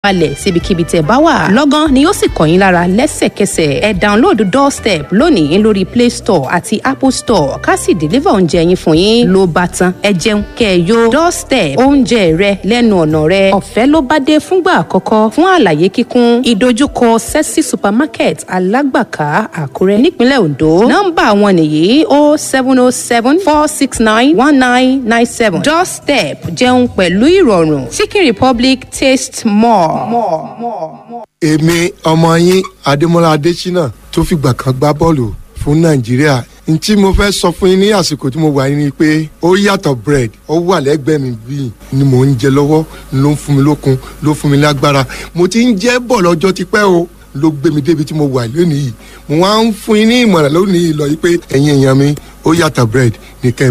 Balẹ̀ síbikíbi tẹ́ bá wà lọ́gán ni yóò sì kàn yín lára lẹ́sẹ̀kẹsẹ̀. Ẹ download Doorstep lónìí lórí Play Store àti Apple Store, ká sì deliver oúnjẹ yín fún yín ló bá tán. Ẹ jẹun kẹ́ ẹ yó. Doorstep, oúnjẹ rẹ lẹ́nu ọ̀nà rẹ, ọ̀fẹ́ ló bá dé fúngbà àkọ́kọ́. Fún àlàyé kíkún, ìdojúkọ Sẹ́sì Supermarket, Alágbàká, Àkúrẹ́, nípínlẹ̀ Ondo, nọ́mbà wọn nìyí: 07074691997. Doorstep, jẹun pẹ̀lú ìrọ̀rùn. Chicken Republic, taste more. Èmi ọmọ yín, Adémọlá Adésínà, tó fìgbà kan gbá bọ́ọ̀lù fún Nàìjíríà, n tí mo fẹ́ sọ fún yín ní àsìkò tí mo wà yín ni pé ó yàtọ̀ bread ó wà lẹ́gbẹ̀ẹ́ mi bíi ni mò ń jẹ lọ́wọ́, ló ń fún mi lókun, ló fún mi lágbára. Mo ti ń jẹ́ bọ̀ lọ́jọ́ tipẹ́ o, ló gbé mi débi tí mo wà lónìí yìí. Mo wá ń fún yín ní ìmọ̀ràn lónìí lọ yìí pé ẹ̀yin èèyàn mi, ó yàtọ̀ bread nìkan.